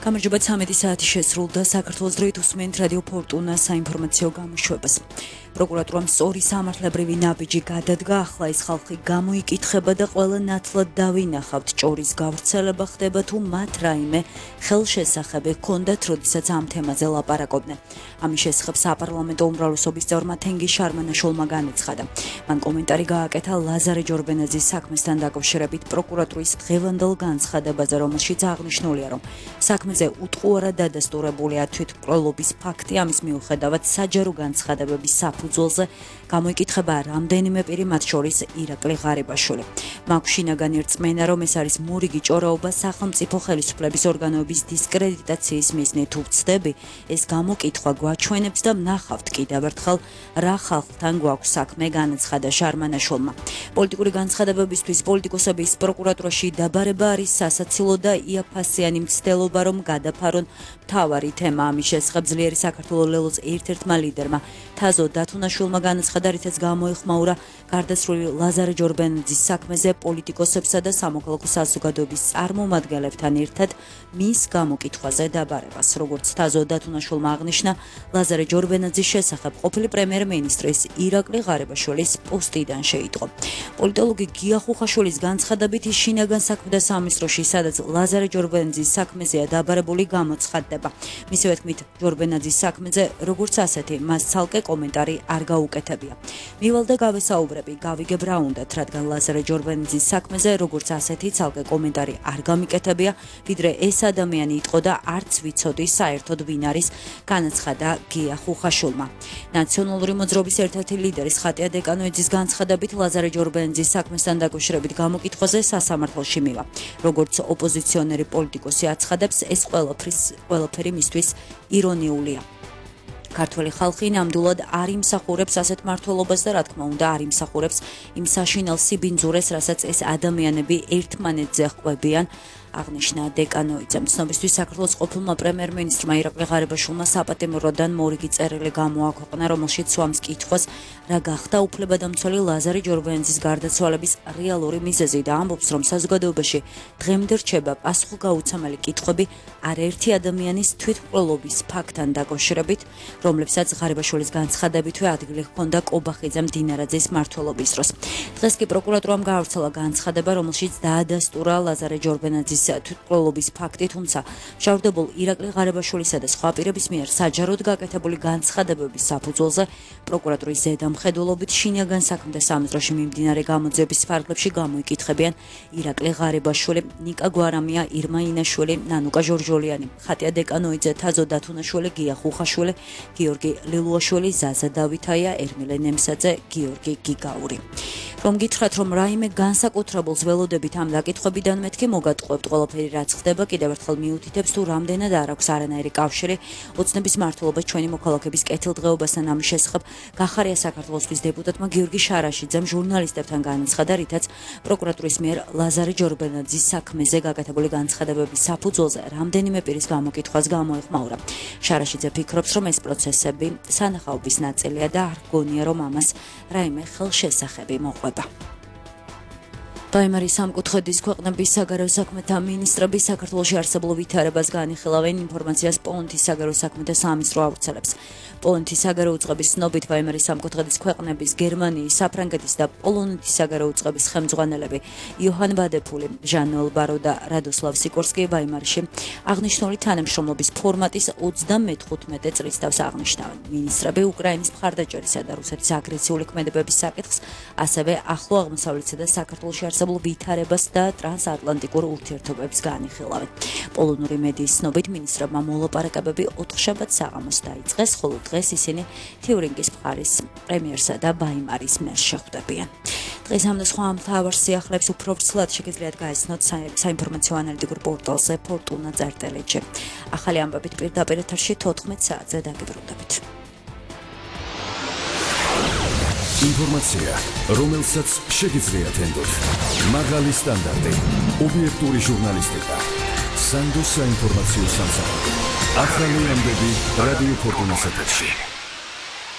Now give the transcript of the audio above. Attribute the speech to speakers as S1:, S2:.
S1: გამარჯობა 13 საათი შესრულდა საქართველოს დროით უსმენთ რადიო ფორტუნა საინფორმაციო გამოშვებას. პროკურატურამ სწორი სამართლებრივი ნაბიჯი გადადგა, ახლა ის ხალხი გამოიკითხება და ყველა ნათლად დავინახავთ ჭორის გავრცელება ხდება თუ მათ რაიმე ხელშესახები ჰქონდათ, როდესაც ამ თემაზე ლაპარაკობდნენ. ამის შესახებ საპარლამენტო უმრავლესობის წევრმა თენგიზ შარმანაშვილმა განაცხადა. მან კომენტარი გააკეთა ლაზარე ჯორბენაძის საქმესთან დაკავშირებით პროკურატურის დღევანდელ განცხადებაზე, რომელშიც აღნიშნულია, რომ საქმეზე უტყუარად დადასტურებულია თვითმკვლელობის ფაქტი, ამის მიუხედავად საჯარო განცხადებების საფუძველზე გამოიკითხება რამდენიმე პირი, მათ შორის ირაკლი ღარიბაშვილი. მაგშინაგანი რწმენა, რომ ეს არის მორიგი ჭორაობა სახელმწიფო ხელისუფლების ორგანოების დისკრედიტაციის მიზნით უცდები, ეს გამოკითხვა გვაჩვენებს და ვნახავთ კიდევ ერთხელ რა ხალხთან გვაქვს საქმე, განაცხადა შარმანაშვილმა. პოლიტიკური განცხადებებისთვის პოლიტიკოსების პროკურატურაში დაბარება არის სასაცილო და იაფასიანი მცდელობა, რომ გადაფარონ მთავარი თემა. ამის შესახებ ძლიერი საქართველოს ლელოს ერთ-ერთმა ლიდერმა თაზო დათუნაშვილმა განაცხადა, რითაც გამოიხმაურა გარდაცვლილი ლაზარე ჯორბენაძის საქმეზე პოლიტიკოსებსა და სამოქალაქო საზოგადოების წარმომადგენლებთან ერთად მის გამოკითხვაზე დაბარებას. როგორც თაზო დათუნაშვილმა აღნიშნა, ლაზარე ჯორბენაძის შესახებ ყოფილი პრემიერ-მინისტრის ირაკლი ღარიბაშვილის პოსტიდან შეიტყო. პოლიტოლოგი გია ხუხაშვილის განცხადებით, ის შინაგან საქმეთა სამინისტროში, სადაც ლაზარე ჯორბენაძის საქმეზეა დაბარებული, გამოცხადდება. მისივე თქმით, ჯორბენაძის საქმეზე როგორც ასეთი მას ცალკე კომენტარი არ გაუკეთებია. მივალ და გავესაუბრები, გავიგებ რა უნდათ, რადგან ლაზარე ჯორბენაძის საქმეზე როგორც ასეთი ცალკე კომენტარი არ გამიკეთებია, ვიდრე ეს ადამიანი იტყო და არც ვიცოდი საერთოდ ვინ არის, განაცხადა გია ხუხაშვილმა. ნაციონალური მოძრაობის ერთ-ერთი ლიდერის ხატია დეკანოიძის განცხადებით, ლაზარე ჯორბენაძის საქმესთან დაკავშირებით გამოკითხვაზე სასამართლოში მივა. როგორც ოპოზიციონერი პოლიტიკოსი აცხადებს, ეს ყველაფერი მისთვის ირონიულია. ქართველი ხალხი ნამდვილად არ იმსახურებს ასეთ მართლობას და რა თქმა უნდა არ იმსახურებს იმ საშინელ სიბინძურეს, რასაც ეს ადამიანები ერთმანეთზე ხვევიან, აღნიშნა დეკანოიძემ. ცნობისთვის საქართველოს ყოფილმა პრემიერ-მინისტრმა ირაკლი ღარიბაშვილმა საპატიმროდან მორიგი წერილი გამოაქვეყნა, რომელშიც სვამს კითხვას, რა გახდა უფლებადამცველი ლაზარე ჯორბენაძის გარდაცვალების რეალური მიზეზი და ამბობს, რომ საზოგადოებაში დღემდე რჩება პასუხგაუცემელი კითხვები არაერთი ადამიანის თვითმკვლელობის ფაქტთან დაკავშირებით, რომლებსაც ღარიბაშვილის განცხადებითვე ადგილი ჰქონდა კობახიძემ დინარაძის მმართველობის დროს. დღეს კი პროკურატურამ გაავრცელა განცხადება, რომელშიც დაადასტურა ლაზარე ჯორბენაძის თვითმკვლელობის ფაქტი, თუმცა მშავდებულ ირაკლი ღარიბაშვილისა და სხვა პირების მიერ საჯაროდ გაკეთებული განცხადებების საფუძველზე პროკურატურის ზედამხედველობით შინაგან საქმეთა სამინისტროში მიმდინარე გამოძიების ფარგლებში გამოიკითხებიან ირაკლი ღარიბაშვილი, ნიკა გვარამია, ირმა ინაშვილი, ნანუკა ჟორჟოლიანი, ხატია დეკანოიძე, თაზო დათუნაშვილი, გია ხუხაშვილი, გიორგი ლილუაშვილი, ზაზა დავითაია, ერმილე ნემსაძე, გიორგი გიგაური. რომ გითხრათ, რომ რაიმე განსაკუთრებულს ველოდებით ამ დაკითხვებიდან, მეთქი მოგატყუებთ ყველაფერი რაც ხდება, კიდევ ერთხელ მიუთითებს თუ რამდენად არ აქვს არანაირი კავშირი ოცნების მმართველობას ჩვენი მოქალაქების კეთილდღეობასთან. ამის შესახებ გახარია საქართველოსთვის დეპუტატმა გიორგი შარაშიძემ ჟურნალისტებთან განაცხადა, რითაც პროკურატურის მიერ ლაზარე ჯორბენაძის საქმეზე გაკეთებული განცხადებების საფუძველზე რამდენიმე პირის გამოკითხვას გამოეხმაურა. შარაშიძე ფიქრობს, რომ ეს პროცესები სანახაობის ნაწილია და არ გონია, რომ ამას რაიმე ხელშესახები მოყვება. დაიმარის სამკუთხედის ქვეყნების საგარეო საქმეთა მინისტრები საქართველოში არსებულ ვითარებას განიხილავენ, ინფორმაციას პოლონეთის საგარეო საქმეთა სამინისტრო ავრცელებს. პოლონეთის საგარეო უწყების ცნობით, ვაიმარის სამკუთხედის ქვეყნების, გერმანიის, საფრანგეთის და პოლონეთის საგარეო უწყების ხელმძღვანელები იოჰან ვადეფული, ჟან ოლბარო და რადოსლავ სიკორსკი ვაიმარში აღნიშნული თანამშრომლობის ფორმატის 35 წლის თავს აღნიშნავენ. მინისტრები უკრაინის მხარდაჭერისა და რუსეთის აგრესიული ქმედებების საკითხს, ასევე ახლო აღმოსავლეთსა და საქართველოში არსებულ ვითარებას და ტრანსატლანტიკურ ურთიერთობებს განიხილავენ. პოლონური მედიის ცნობით, მინისტრებმა მოლაპარაკებები 4 შაბათს საღამოს დაიწყეს, ხოლო დღეს ისინი თიურინგის მხარის პრემიერსა და ვაიმარის მერს შეხვდებიან. დღეს ამ და სხვა მთავარ სიახლეებს უფრო ვრცლად შეგიძლიათ გაიცნოთ საინფორმაციო ანალიტიკურ პორტალზე fortuna.rt. ახალი ამბებით პირდაპირ ეთერში 14 საათზე დაგიბრუნდებით.
S2: ინფორმაცია, რომელსაც შეგიძლიათ ენდოთ. მაღალი სტანდარტი, ობიექტური ჟურნალისტიკა, სანდოს საინფორმაციო სამსახური. ახალი ამბები რადიო ფორტუნას ეთერში.